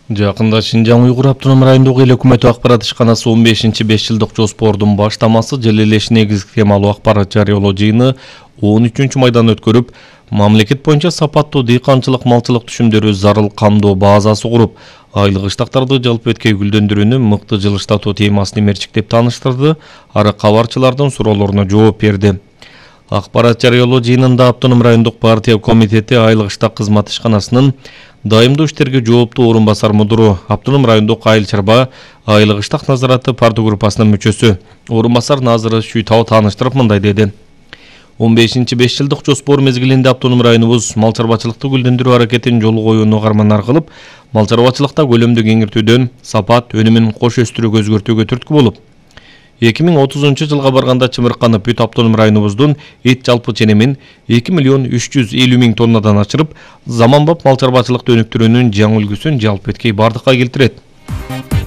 Жакында Шинжаң Уйгур автоном райондук эл өкмөтү акпарат ишканасы 15-5 жылдык жоспордун баштамасы жыл элеш негизги темалуу акпарат жарыялоо жыйыны 13 майдан өткөрүп, мамлекет боюнча сапаттуу дыйканчылык малчылык түшүмдөрү зарыл камдоо базасы куруп, айлык ыштактарды жалпы эткей гүлдөндүрүүнү мыкты жылыштатуу темасын мерчиктеп тааныштырды, ары кабарчылардын суроолоруна жооп берди. Акпарат жарыялоо жыйынында автоном райондук партия комитети айлык ыштак кызмат ишканасынын дайымдуу иштерге жооптуу орун басар мудуру, автоном райондук айыл чарба айлык ыштак назараты партия группасынын мүчөсү, орун басар Назыры Шүйтау тааныштырып мындай деди. 15-5 жылдык жоспор мезгилинде автоном районубуз мал чарбачылыкты гүлдөндүрүү аракетин жолго коюуну карманар кылып, мал чарбачылыкта көлөмдү кеңиртүүдөн сапат, өнүмүн кош өстүрүүгө өзгөртүүгө түрткү болуп, 2030 жылга барганда чымырканып бүт автоном районубуздун эт жалпы ченемин 2 350 000 тоннадан ашырып, заманбап мал чарбачылыкты өнүктүрүүнүн жаңы үлгүсүн жалпы эткей бардыкка келтирет.